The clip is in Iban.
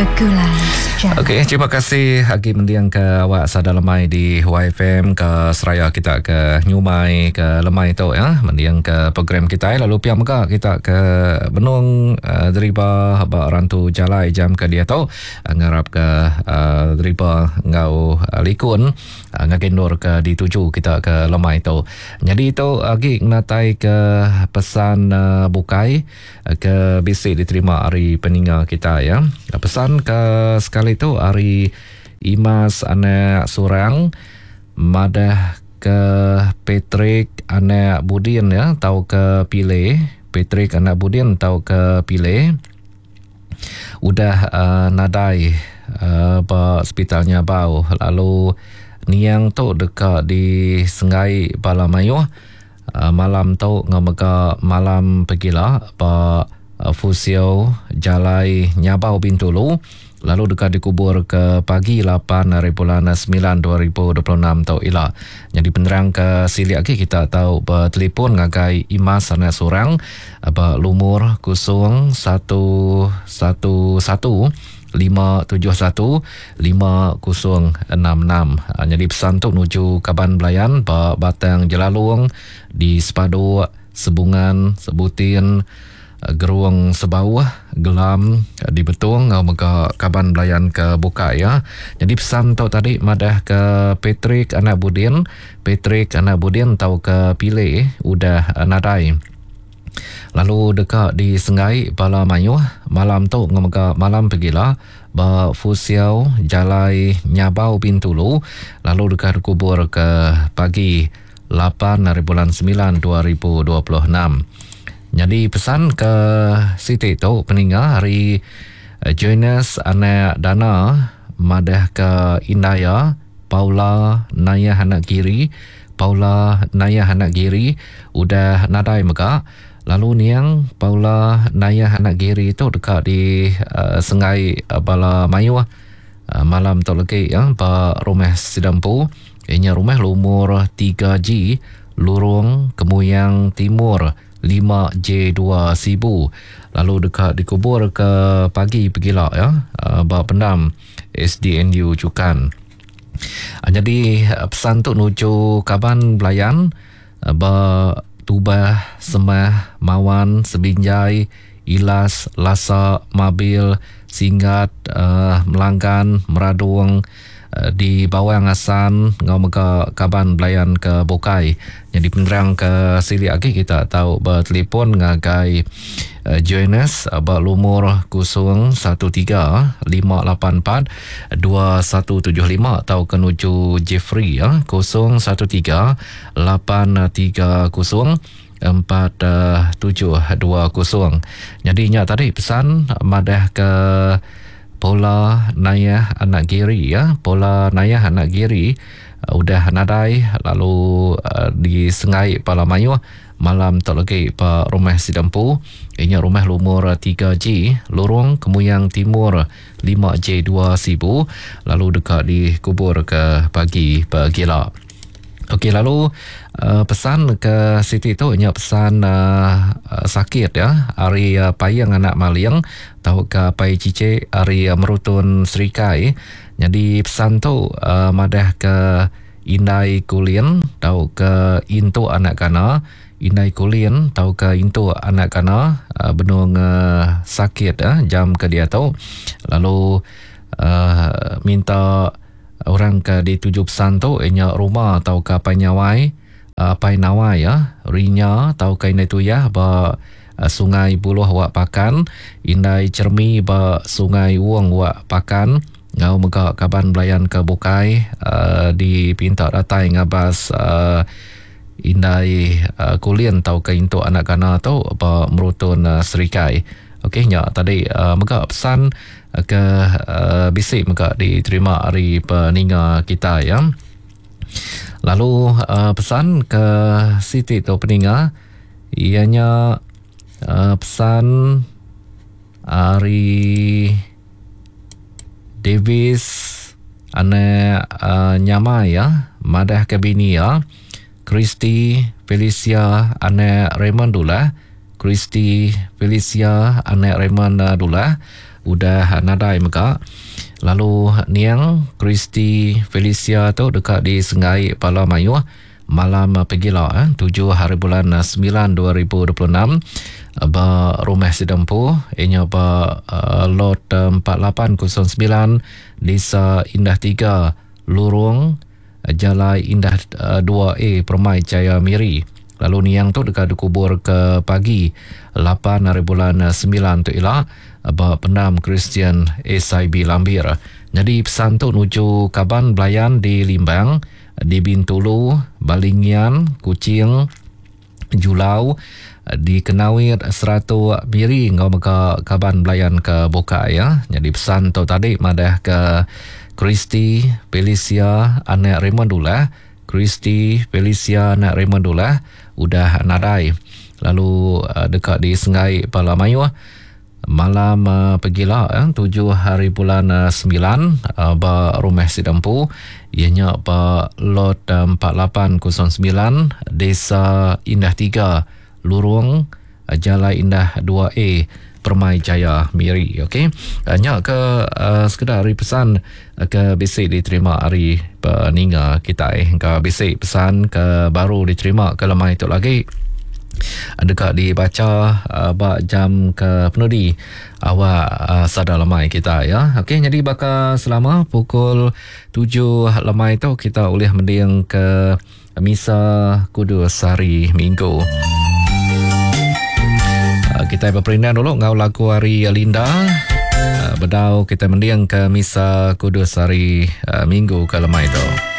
Begulai sejalai. Okey, terima kasih agi mending ke awak sada lemai di YFM ke seraya kita ke nyumai ke lemai tu ya, mending ke program kita lalu pia mega kita ke benung uh, deriba ba rantu jalai jam ke diatu ngarap ke uh, deriba enggau uh, likun ngagai endur ke dituju kita ke lemai tu. Nyadi tu agi ngenatai ke pesan bukai ke bisi diterima ari peninga kita ya. Pesan ke sekali tu ari Imas anak Surang madah ke Patrick anak Budin ya tauka Pile, Patrick anak Budin tauka Pile. Udah nadai ba sepital Nyabau lalu niang tu deka disenggai bala mayuh malam tu enggau mega malam pegila ba Fusio Jalai Nyabau Bintulu lalu deka dikubur ke pagi lapan hari bulan semilan 2026 tu ila. Nyadi penerang ke silik agi kita tau betelefon ngagai Imas Anak Surang ba lumur 0111 571 5066. Nyadi pesan tu nuju kaban belayan ba Batang Jelalong di Sepaduk, Sebungan, Sebutin, Gerung Sebauh, Gelam di Betong enggau mega kaban belayan ke bukai iya. Nyadi pesan tu tadi madah ke Patrick anak Budin, Patrick anak Budin tauka Pile udah nadai lalu deka disenggai bala mayuh malam tu enggau mega malam pegila ba Fusiau Jalai Nyabau Bintulu lalu deka dikubur ke pagi lapan ari bulan semilan 2026. Nyadi pesan ke siti tu peninga ari Joines anak Dana madah ke indai iya Paula Nayah anak Giri Paula Nayah anak Giri udah nadai mega lalu niang Paula Nayah anak Giri tu deka di senggai bala mayuh malam tu legi ba rumah sida empu. Iya nya rumah lumur 3G Lurong Kemuyang Timur 5J2 Sibu lalu deka dikubur ke pagi pegila ya ba pendam SDNU Chukan. Nyadi pesan tu nuju kaban belayan ba Tubah, Semah, Mawan, Sebinjai, Ilas, Lasa, Mabil, Singgat, Melanggan, Meradong, di Bawang Assan enggau mega kaban belayan ke bukai. Nyadi penerang ke silik agi kita tau betelefon ngagai Joannes ba lumur 013 584 2175 tauka nuju Jeffrey 013 830 4720. Nyadi nya tadi pesan madah ke Pola Nayah anak Giri ya. Pola Nayah anak Giri udah nadai lalu disengai pala mayuh malam tu lagi ba rumah sida empu. Inya rumah lumur 3G Lorong Kemuyang Timur 5J2 Sibu lalu deka dikubur ke pagi pegila. Okey lalu uh, pesan ke siti tu nya pesan uh, sakit ya ari uh, Payang anak Maling tauka Pai Cicik ari uh, Merutun Serikai. Jadi pesan tu uh, madah ke Indai Kulin tauka Intu anak Kana, Indai Kulin tauka Intu anak Kana uh, benung uh, sakit uh, jam ke diatu lalu uh, minta Orang ke dituju pesan tu iya nya Ruma tauka Apai Nyawai, Apai Nawai ya, Rinya tauka Indai Tuyah ba Sungai Buluh Wak Pakan, Indai Chermi ba Sungai Wong Wak Pakan enggau mega kaban belayan ke bukai dipinta datai ngabas Indai Kulin tauka Intu Anak Gana tu ba Merutun Serikai. Okey nya tadi mega pesan ke bisi mega diterima ari peninga kitai ya. Lalu pesan ke siti tu peninga iya nya pesan ari Davis anak Nyamai ya madah ke bini iya Christy Felicia anak Raymond Dulah Christy Felicia anak Raymond Dullah. udah nadai mega. Lalu niang Christy Felicia tu deka disenggai bala mayuh malam pegila tujuh haribulan semilan 2026 ba rumah sida empu iya nya ba lot 4809 Desa Indah tiga Lurung Jalai Indah dua A Permai Jaya Miri. Lalu niang tu deka dikubur ke pagi lapan haribulan semilan tu ila ba Pendam Kristian SIB Lambir. Nyadi pesan tu nuju kaban belayan di Limbang, di Bintulu, Balingian, Kuching, Julau, di Kenawit, Seratok, Miri enggau mega kaban belayan ke bukai. Nyadi pesan tu tadi madah ke Christy Felicia anak Raymond Dullah, Christy Felicia anak Raymond Dullah udah nadai lalu deka disenggai bala mayuh malam pegila tujuh hari bulan semilan ba rumah sida empu iya nya ba lot 4809 Desa Indah tiga Lurung Jalai Indah dua A Permai Jaya Miri. Okey. Nya ke sekeda ari pesan ke bisi diterima ari peninga kitai. Engka bisi pesan ke baru diterima ke lemai tu lagi deka dibacha ba jam ke penudi awak sada lemai kita ya. Okey nyadi baka selama pukul tujuh lemai tu kita ulih mending ke Misa Kudus Hari Minggu. Kita beperindang dulu enggau lagu hari Linda. Bedau kita mending ke Misa Kudus Hari Minggu ke lemai tu.